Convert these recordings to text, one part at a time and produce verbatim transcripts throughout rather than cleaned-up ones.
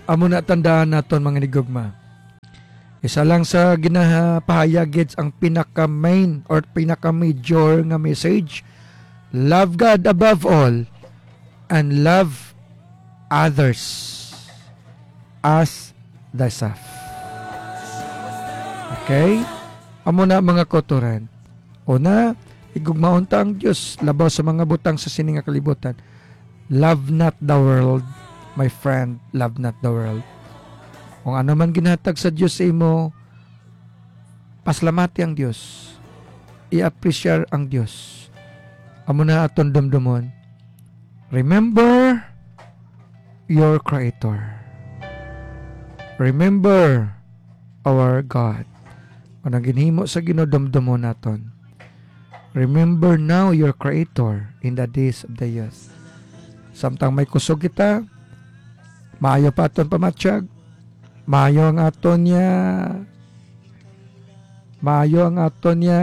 Amo na, tandaan naton, mga higugma. Isa lang sa ginapahayag gid ang pinaka-main or pinaka-major nga message. Love God above all and love others as thyself. Okay? Amo na, mga kauturan. Una, higugmaon ta ang Dios labaw sa mga butang sa sini nga kalibutan. Love not the world, my friend, love not the world. Kung ano man ginhatag sa Dios sa imo, paslamati ang Dios. I-appreciate ang Dios. Amo na aton dumdumon. Remember your Creator. Remember our God. Kung ang ginhimo sa Ginoo, dumdumon naton. Remember now your Creator in the days of the youth. Samtang may kusog kita, maayo pa aton pamatyag, maayo ang aton niya, maayo ang aton niya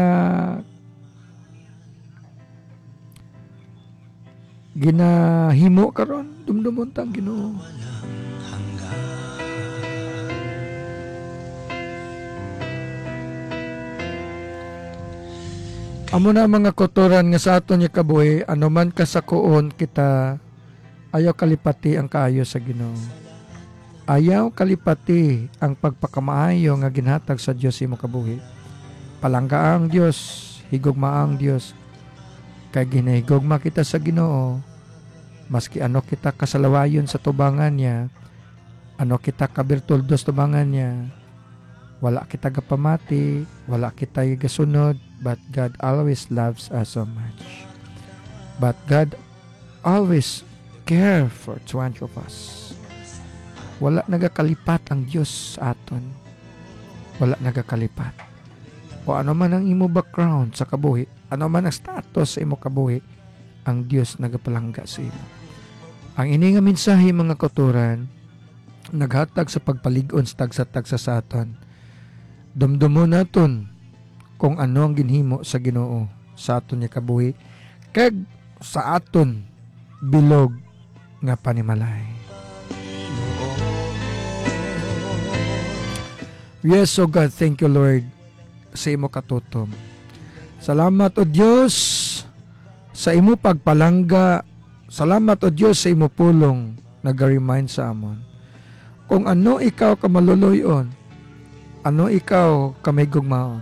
ginahimo karon, dumdumon ta ang Ginoo. Amo na, mga kauturan, nga sa aton nga kabuhi, ano man kasakuon kita, ayaw kalipati ang kaayo sa Ginoo. Ayaw kalipati ang pagpakamaayo nga ginhatag sa Dios sa imo kabuhi. Palanggaa ang Dios, higugmaa ang Dios. Kay ginahigugma kita sa Ginoo, maski ano kita kasalawayon sa tubangan niya, ano kita kabirtuldos tubangan niya, wala kita gapamati, wala kita gasunod, but God always loves us so much. But God always care for each one of us. Wala nagakalipat ang Dios sa aton. Wala nagakalipat. O ano man ang imo background sa kabuhi, ano man ang status sa imo kabuhi, ang Dios nagapalangga sa imo. Ang ini nga mensahe, mga kauturan, naghatag sa pagpalig-on sa tagsa-tagsa sa aton. Dumdumon naton kung ano ang ginhimo sa Ginoo sa aton nga kabuhi kag sa aton bilog nga panimalay. Yes, O God, thank you, Lord, sa imo katutom. Salamat, O Dios, sa imo pagpalangga. Salamat, O Dios, sa imo pulong, naga-remind sa amon kung ano ikaw ka maluloy-on, ano ikaw ka mahigugmaon.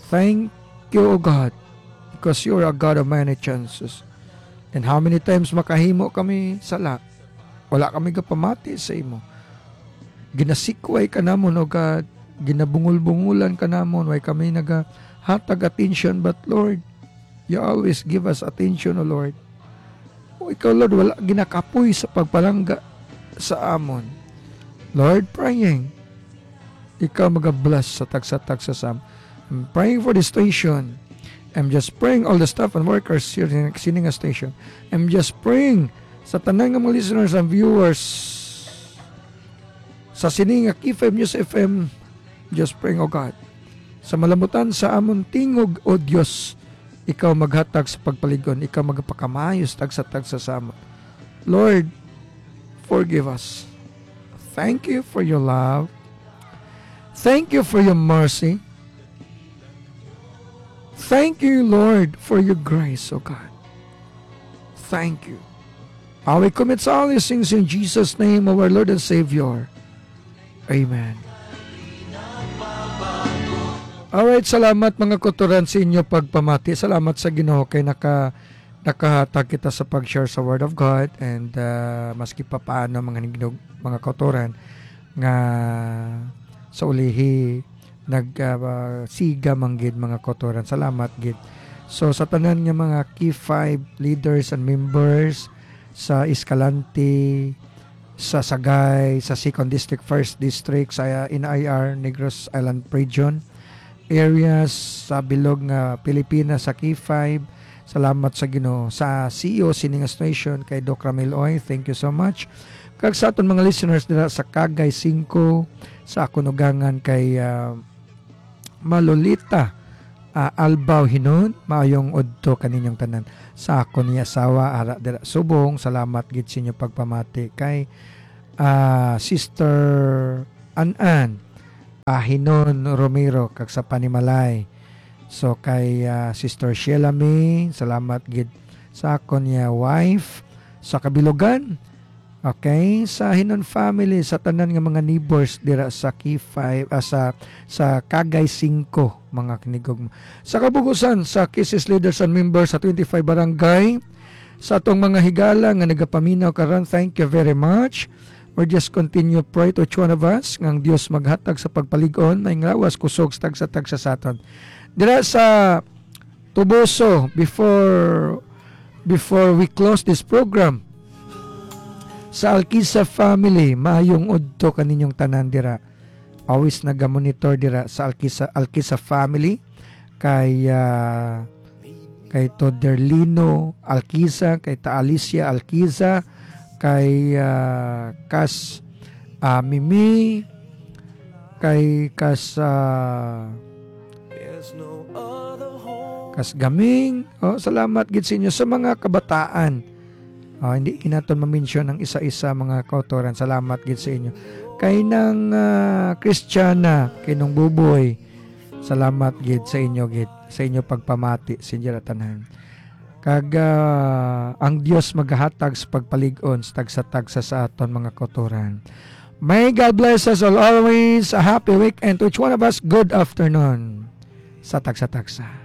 Thank you, O God, because you are a God of many chances. And how many times makahimo kami sala, wala kami gapamati sa imo. Ginasikway ka namon, O God. Ginabungol-bungolan ka namon. Way kami nagahatag atensyon, but Lord, you always give us attention, O Lord. O ikaw, Lord, wala ginakapoy sa pagpalangga sa amon. Lord, praying, ikaw magabless sa tagsa-tagsa sa amon. I'm praying for this station. I'm just praying all the staff and workers here in sini nga station. I'm just praying sa tanan nga mga listeners and viewers sa sini nga K five News F M. Just praying, O God, sa malamutan sa amon tingog, O Dios, ikaw maghatag sa pagpalig-on, ikaw magpakamaayos tagsa-tagsa sa amon. Lord, forgive us. Thank you for your love. Thank you for your mercy. Thank you, Lord, for your grace, O God. Thank you. I will commit all these things in Jesus' name, our Lord and Savior. Amen. Alright, salamat, mga kauturan, sa inyo pagpamati. Salamat sa Ginoo kay naka nakahatag kita sa pag-share sa Word of God, and, ah, maski pa paano, mga higugma, mga kauturan, nga sa ulihi nag, ah, siga man gid, mga kauturan. Salamat gid. So, sa tanan nga mga K five leaders and members sa Escalante, sa Sagay, sa Second District, First District, sa N I R, Negros Island Region, areas sa bilog nga Pilipinas, sa K five. Salamat sa Ginoo. Sa C E O sini nga station, kay Doc Ramil Oy, thank you so much. Kag sa aton mga listeners dira sa Cagay Cinco, sa akon ugangan kay, ah, Malolita, ah, Albaw Hinon, maayong udto kaninyong tanan. Sa akon nga asawa, ara dira subong, salamat gid sa inyo pagpamati kay ah, Sister An-an, ah, Hinon Romero, kag sa Panimalay. So, kay, ah, Sister Sheila May, salamat gid sa akon niya wife. Sa Kabilugan, okay, sa Hinon family, sa tanan nga mga neighbors dira sa K five, ah, sa, sa Kagay Singko, mga kinigog. Sa Kabugusan, sa K S S leaders and members sa twenty-five barangay, sa atong mga higala nga nagapaminaw karon, thank you very much. We just continue pray to each one of us, nga ang Dios maghatag sa pagpalig-on, may nglawas, kusog sa tagsa-tagsa sa aton. Dira sa Tubuso, before, before we close this program, sa Alkisa family, maayong udto kaninyong tanan dira. Always nagamonitor dira sa Alkisa, Alkisa family, kay, ah, kay Toderlino Alkisa, kay Ta Alicia Alkisa, kay, ah, Kas, ah, Mimi, kay Kas, ah, Kas Gaming. Oh, salamat gid sa inyo sa mga kabataan. Oh, hindi kinaton ma-mention ang isa-isa, mga kautoran. Salamat gid sa inyo. Kay nang, ah, Kristiyana, kay nung Buboy, salamat gid sa inyo gid, sa inyo pagpamati, sa inyo tanan. Kag, ah, ang Dios magahatag sa pagpalig-on sa tagsa-tagsa sa aton, mga kautoran. May God bless us all always. A happy weekend to each one of us. Good afternoon sa tagsa-tagsa.